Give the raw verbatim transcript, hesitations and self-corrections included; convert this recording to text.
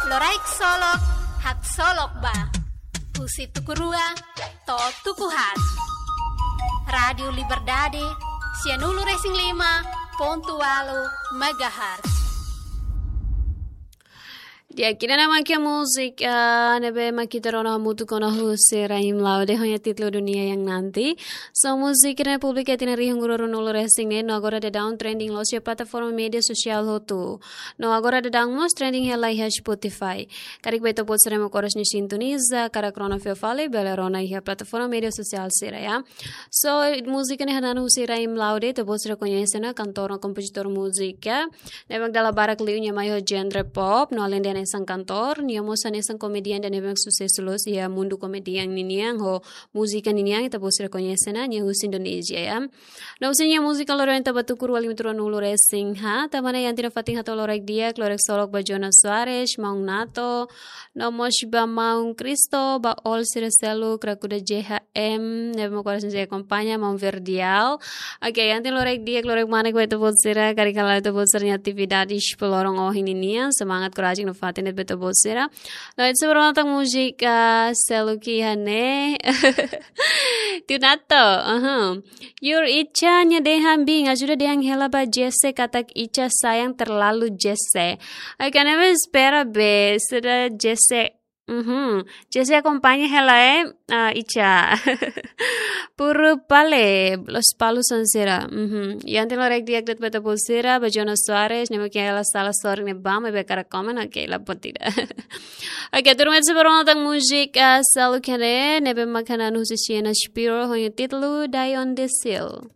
Loraik Solok, Haksolok Ba. Husi tuku rua to'o tuku haat. Rádiu Liberdade, sianulu-resin-lima pontu ualu megahertz. Di'ak, ida-ne'e mak múzika ne'ebé mak ita rona hamutuk ona husi Rahim Laude, ho nia títulu Dunia Yang Nanti. So, múzika ne'e publika iha tinan rihun rua ruanulu-resin-neen, no agora daudaun trending loos iha plataforma média sosiál hotu. No agora daudaun mós trending hela iha Spotify. Karik ba ita-boot sira ne'ebé mak oras ne'e sintoniza, karik rona fila fali, bele rona iha plataforma média sosiál sira, ya. So, múzika ne'e hanesan husi Rahim Laude, ita-boot sira koñese ona, kantór no kompozitór múzika. Ne'ebé mak dala barak liu nia mai ho genre pop, no alende hanesan kantór, nia mós hanesan komediante ne'ebé mak susesu loos iha mundu komedian ninian, ho múzika ninian, ita-boot sira koñese ona, nia husi Indonézia, ya. No husi nia múzika loron ita ba tuku rua lima ruanulu-resin-haat, tanba ne'e iha ita-nia fatin hato'o loraik di'ak, loraik solok ba Jonas Soares, Maun Nato, no mós ba Maun Kristo, ba Ol sira seluk, Krakuda J H M, ne'ebé mak oras ne'e akompaña, Maun Verdial. Oke, iha ita-nia loraik di'ak, loraik manek ba ita-boot sira, karik hala'o ita-boot sira-nia atividade, loron ohin ninian, semangat, korajen no fatin ba ita-boot sira. No, ita sei ba rona tan múzika seluk iha ne'e. Tiu Nato, aham. Yur, Ica nia dehan, Bin, ajuda dehan hela ba Jesse katak Ica sayang terlalu Jesse. Ai, kan ne'e espera be, sudah Jesse. Mhm. Jesse akompaña hela, eh, ah, Ica. Puru pale, Lospalos sira. Mhm. Iha ita-nia loraik di'ak de'it ba ita-boot sira, ba Jonas Soares, ne'ebé mak hela sala sorin ne'ebá, maibé hakarak komen, oke, la pode tidak. Oke, tuirmai ita sei ba rona tan múzika seluk iha ne'e, ne'ebé mak hanesan husi Sienna Spiro, ho nia títulu Die on the Seal.